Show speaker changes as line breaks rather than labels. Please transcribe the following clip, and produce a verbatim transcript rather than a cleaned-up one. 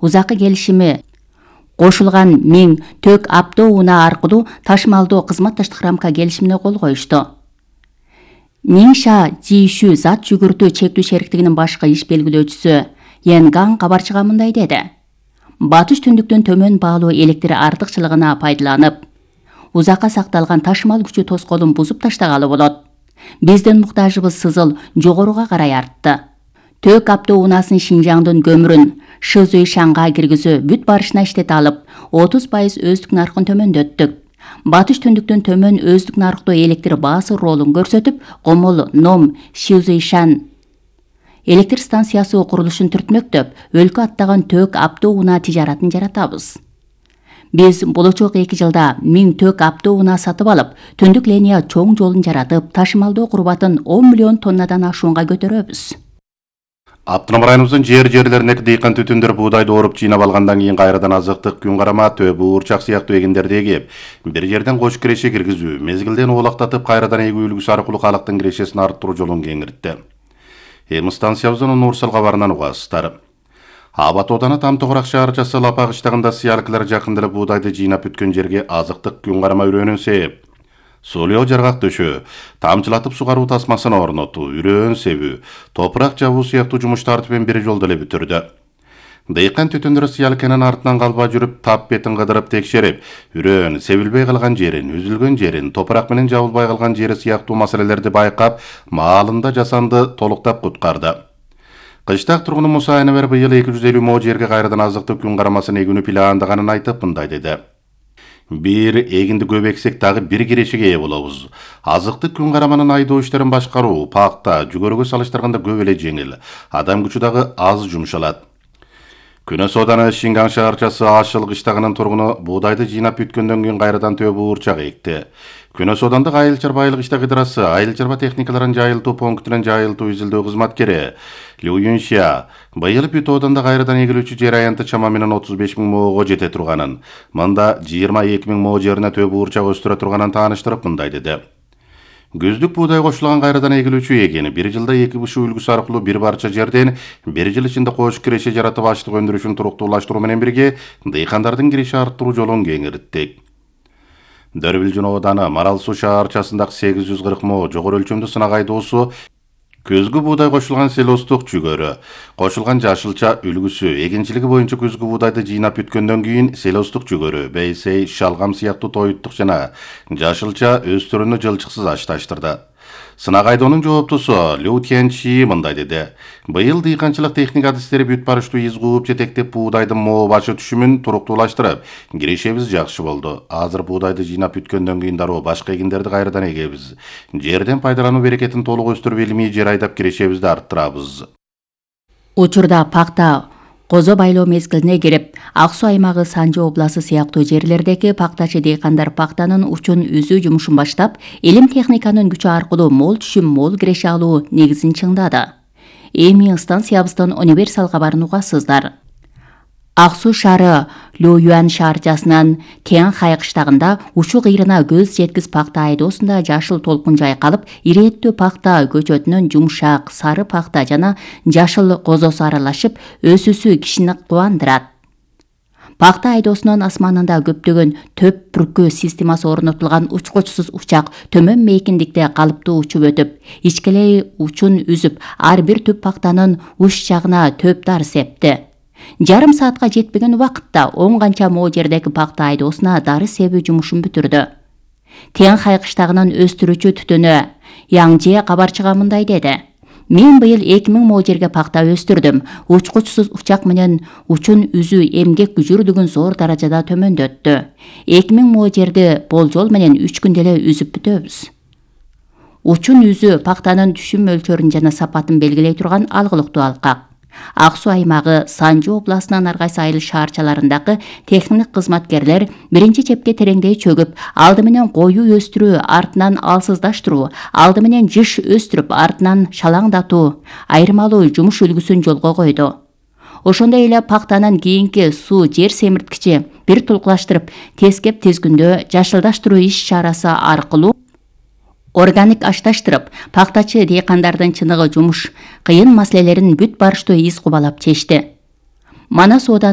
узакы келишими кошулган миң төк автоунаа аркылуу ташымалдоо кызматташтык рамка келишимине кол коюшту. Ниңша Жишүү зат жүгүртүү чектүү шериктигинин башкы иш белгилөөчүсү Янган кабарчыга мындай деди. Батыш түндүктөн төмөн баалуу электр артыкчылыгына пайдаланып, узакка сакталган ташымал күчү тоскоолун бузуп таштагалы болот. Биздин муктажыбыз сызыл жогоруга карай артты. Төк автоунаасын Шинжаңдын көмүрүн Шызуйшанга киргизүү бүт барышына иштете алып, отуз пайыз өздүк наркын төмөндөттүк. Батыш түндүктөн төмөн өздүк наркта электр баасы ролун көрсөтүп, Комол Ном Шизуйшан электр станциясы курулушун түртмөктөп, өлкө аттаган төк автоунаа тижаратын жаратабыз. Биз болочок эки жылда миң төк автоунаа сатып алып, түндүк линия чоң жолун жаратып, ташымалдоо курбатын он миллион тоннадан ашуунга көтөрөбүз.
Автоном районубуздун жер-жерлеринеки дыйкан түтүндөр буудайды оруп жыйнап алгандан кийин кайрадан азыктык, күн карама, төбө, уурчак сыяктуу эгиндерди эгип, бир жерден кош киреше киргизүү, мезгилден оолактатып кайрадан эгүү үлгүсү аркылуу калктын кирешесин арттыруу жолун кеңиртти. Эми станциябыздын Нурсал кабарынан угасыздар. Абат Ооданы Тамтогурак шаарчасы Лапак ыштагында сыялкылар жакында эле буудайды жыйнап бүткөн жерге азыктык күн карама үрөөнүн себеп. Сулуу жаргак төшөө, тамчылатып сугаруу тасмасын орнотуу, үрөөн себүү, топурак жабуу сыяктуу жумуштарды менен бир жолдо эле бүтүрдү. Дыйкан түтүндөр сыялканын артынан калбай жүрүп, тап бетин кыдырып текшерип, үрөөн себилбей калган жерин, үзүлгөн жерин, топурак менен жабылбай калган жери сыяктуу маселелерди байкап, маалында жасанды толуктап куткарды. Кыштак тургуну Муса Айнабер быйыл эки жүз элүү мо жерге кайрадан азыктык күн карамасын эгүүнү пландаганын айтып мындай деди. Бир эгинди көп эксек дагы бир кирешеге ээ болобуз. Азыктык күн караманын айдоо иштерин башкаруу, пакта, жүгөрүгө салыштырганда көп эле жеңил. Адам күчү дагы аз жумшалат. Күнөс Ооданы Шинган шаарчасы Ашыл кыштагынын тургуну буудайды жыйнап бүткөндөн кийин кайрадан төбө уурчак экти. Күнөс Оодандык Айыл чарба айыл кыштак ыдырасы, айыл чарба техникаларын жайылтуу пунктунун жайылтуу изилдөө кызматкери Лю Юншя быйыл бүт Ооданда кайрадан эгилүүчү жер аянты чама менен отуз беш миң моого жете турганын, мында жыйырма эки миң мо жерине төбө уурчак өстүрө турганын тааныштырып мындай деди. Күздүк буудай кошулган кайрадан эгилүүчү эгени бир жылда эки бышуу үлгүсү аркылуу бир барча жерден бир жыл ичинде кош киреше жаратып аштык өндүрүшүн туруктуулаштыруу менен бирге дыйкандардын киреше арттыруу жолун кеңирттик. Дөрбилжин Ооданы Марал суу шаарчасындагы сегиз жүз кырк мо жогору өлчөмдүү сынак айдоосу күзгү буудай кошулган селостук жүгөрү, кошулган жашылча үлгүсү, эгинчилиги боюнча күзгү буудайды жыйнап бүткөндөн кийин селостук жүгөрү, бейсей, шалгам сыяктуу тоюттук жана жашылча өстүрүүнү жылчыксыз ашташтырды. Сынак айдоонун жооптусу Лю Тянчи мындай деди. Быйыл дыйканчылык техника адистери бүт барыштуу из кууп жетектеп буудайдын мо башы түшүмүн туруктуулаштырып, кирешебиз жакшы болду. Азыр буудайды жыйнап бүткөндөн кийин дароо башка эгиндерди кайрадан эгебиз. Жерден пайдалануу берекетин толук өстүрүп, илимий жер айдап кирешебизди арттырабыз.
Учурда пакта козо байлоо мезгилине кирип, Ак Суу аймагы Санжы областы сыяктуу жерлердеги пактачы дыйкандар пактанын учун үзүү жумушун баштап, илим техниканын күчү аркылуу мол түшүм, мол киреше алуу негизин чыңдады. Эми станциябыздын универсал кабарын угасыздар. Ак Суу шаары Лю Юан шаарчасынын Тянхай кыштагында учу кыйрына көз жеткиз пакта айдоосунда жашыл толкун жайкалып, ирээттүү пакта көчөтүнөн жумшак, сары пакта жана жашыл козосу аралашып, өсүүсү кишини кубандырат. Пакта айдоосунун асманында көптөгөн төп бүркүү системасы орнотулган учкучсуз учак төмөн мейкиндикте калыптуу учуп өтүп, ичкелей учун үзүп, ар бир түп пактанын уч жагына төп дар септи. Жарым саатка жетпеген убакытта он канча мо жердеги пакта айдоосуна дары себүү жумушун бүтүрдү. Тянхай кыштагынын өстүрүүчү түтүнү Яңже кабарчыга мындай деди. Мен быйыл эки миң мо жерге пакта өстүрдүм. Учкучсуз учак менен учун үзүү эмгек күжүрдүгүн зор даражада төмөндөттү. эки миң мо жерди болжол менен үч күндө эле үзүп бүтөбүз. Учун үзүү пактанын түшүм мөлчөрүн жана сапатын белгилей турган алгылыктуу алкак. Ак Суу аймагы Санжы областынын ар кайсы айыл шаарчаларындагы техник кызматкерлер биринчи чепке тереңдей чөгүп, алды менен коюу өстүрүү, артынан алсыздаштыруу, алды менен жыш өстүрүп, артынан шалаңдатуу, айырмалуу жумуш үлгүсүн жолго койду. Ошондой эле пактанын кийинки суу жер семирткичи бир тулкулаштырып, тескеп тизгүндө жашылдаштыруу иш чарасы аркылуу органик ашташтырып, пактачы дыйкандардын чыныгы жумуш, кыйын маселелерин бүт барыштуу из кубалап чечти. Манас Ооданы